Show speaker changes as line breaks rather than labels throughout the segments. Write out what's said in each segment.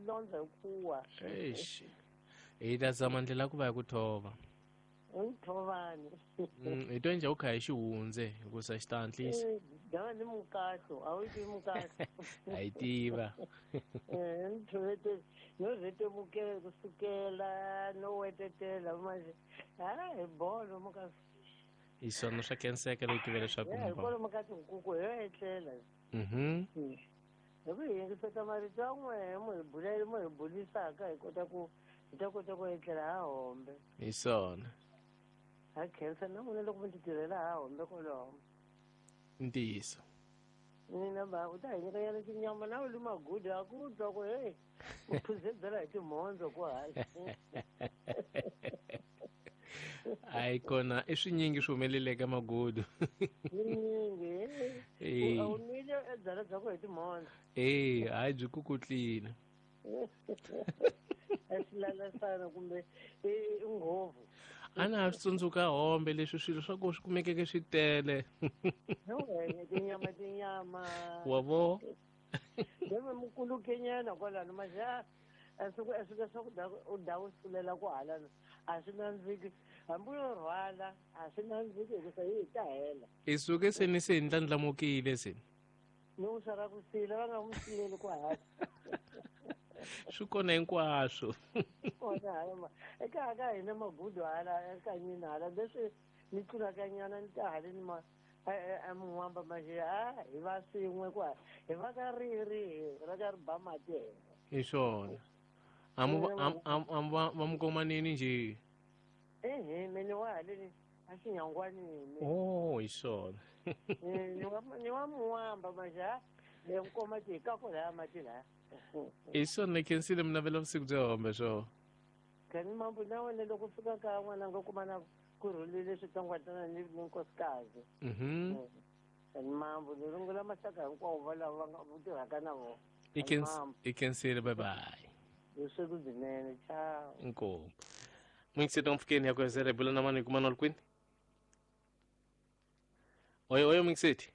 Swilondza hi kuwa.
Eish. Hi ta zama ndlela ku va hi ku thova.
Ntshovani.
Hi to endla u kha hi xihundze hikusa xi ta hatlisa.
Dava ni mukahlo, a wu yi tivi mukahlo.
A yi tiva.
Ntshovete no rhetemukela kusukela no wetetela manje. Ha hi bolo muka.
Hi swona swa khenseka leyi tiva leswaku
hi kwalomu ka tinkuku hi yo etlela. Hi ku hi yingiseta marito ya n'wehe mo hi bula mo hi bulisaka hi kota ku hi ta kota ku etlela ha hombe.
Hi swona.
Ha khensa na n'wina loko mi ti tirhela ha hombe kwaloho.
Ntiyiso.
Mina ba u ta hi nyika nyana tinyama na u li magudu a ku twa ku hey u phuze byala hi timhondzo ku hala.
Hayi kona i swinyingi swi humeleleke magudu.
Swinyingi. A wu nwile e byala bya ku hi timhondzo.
Eh, hayi byi kukutlile.
Eswilalasana kumbe i nghovu.
A na ha swi tsundzuka hombe leswi swilo swa ko swi kumekeke swi tele.
Tinyama tinyama.
Wa vo.
Deve mukulukenyana kwalano maxa a swi a swi leswaku u da u sulela ku halana a swi nandziki hambi yo rhwala a swi nandziki hikusa yi ta hela.
I suke se ni se ndlandlamukile se.
Ni u sala ku sila va nga n'wi sileli ku hala.
Swi kona hinkwaswo.
Kona hala ma eka ka hina magudu hala ekanyini hala leswi ni tlulaka nyana ni ta haleni ma a mun'wamba manje a hi va swin'we ku hi va ka riri ra ka ri ba mati hina.
Hi swona. Amu amu va mukomanini nje.
Ehe mene wa haleni a xinyangwanini.
Oh hi swona.
Ni wa mun'wamba manje a le nkoma ti hi ka ko laya mati laya.
Hi swona khensile mi navela vusiku bya hombe swo.
Kani mambo na wena loko fika ka n'wana nga kuma na ku rhulile switsongwatsongwana ni nkosikazi. Kani mambo ni rungula maxaka hinkwawo va lava va nga tirhaka na vona.
I khensile bye bye.
Vusiku byinene ciao.
Inkomu. Mwingiseti mpfukeni ya kuhezera bula na mani kuma nolkwini. Oyo oyo mwingiseti.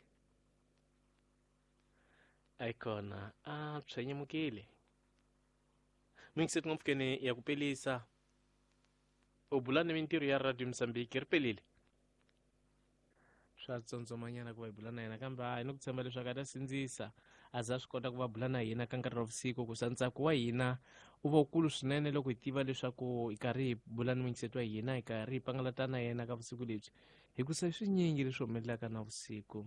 Ayikona a tshwenyemukile. Mwingiseti mpfukeni ya kupelisa. U bula ni mintirho ya Radio Mozambique ri pelile. Swa tsondzomanyana ku va hi bula na yena kambe hayi ni ku tshemba leswaku a ta sindzisa a za swi kota ku va bula na hina ka nkarhi wa vusiku ku sa ntsako wa hina u va wukulu swinene loko hi tiva leswaku hi karhi hi bula ni muyingiseti wa hina hi karhi hi pangalata na yena ka vusiku lebyi hikusa swinyingi leswi humelelaka na vusiku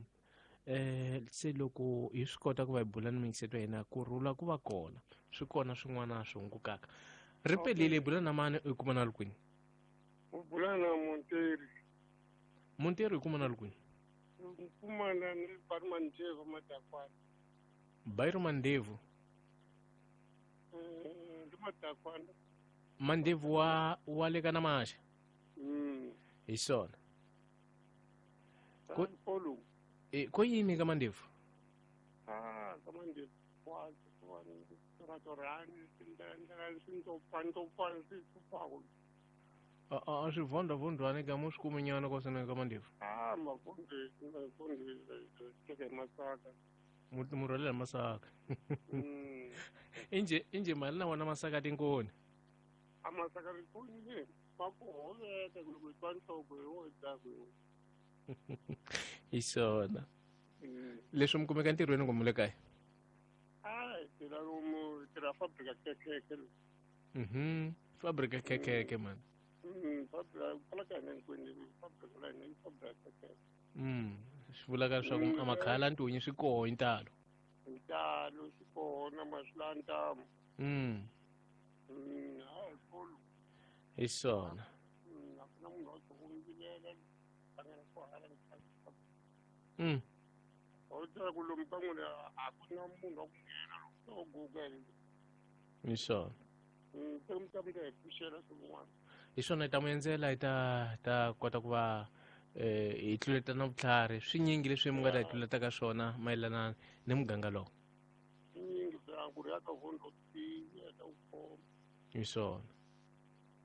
se loko hi swi kota ku va hi bula ni muyingiseti wa hina ku rhula ku va kona swi kona swin'wana swi hungukaka ri pelile hi bula na mani u kuma na kwini
u bula na Monteri.
Monteri u kuma na kwini?
U kuma na ni Bairo Mandevu Madakwana.
Bairo Mandevu.
Ndi Madakwana.
Mandevu wa le ka Namaxa. Hi swona.
Ko
ko yini ka Mandevu?
Ah, ka Mandevu wa wa ndlela swintopantopani swi pfupako.
A swi vhondwa-vhondwani ka mo swi kuminyana kwa swona ka Mandevu.
Ah, mavhondwe teka hi masaka.
Mu rhwalela masaka. Inje mali na wona masaka tinkoni.
A masaka tinkoni le ma ku hoveka loko hi twa nhloko hi wo dzaku hi.
Hi swona. Leswi mi kumeka ntirhweni kumbe le kaya?
Ah, tirha lomu tirha fabrika khekhekhe.
Fabrika khekhekhe man.
Fabrika kwala ka hina hinkwenu fabrika la hina fabrika khekhekhe.
Swi vulaka leswaku a makhala ntunyi swi koho hi ntalo.
Ntalo swi kona maswi ntamu. Hayi kolo.
Hi swona.
A ku na munhu wa ku vilela hlangana ku hala U tiva ku lomu ka n'wina a ku na munhu wa ku nghena loko u guga
hi swona.
Se mi ta mi ta hi pfuxela swin'wana.
Hi swona hi ta n'wi endzela hi ta kota ku va hi tluleta na vutlhari swinyingi leswi mi nga ta hi tluleta ka swona mayelana ni muganga lowu.
Swinyingi swa ku ri ya ka vondo tiya ta ku khoma.
Hi swona.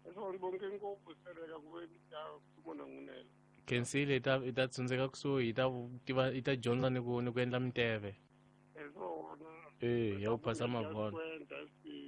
Hi swona bonke ngopfu sereka ku ve ta kumona n'winela.
Khensile hi ta tsundzeka kusuhi hi ta tiva hi ta dyondza ni ku endla minteve.
Hi swona.
Ya ku phasa mavhona.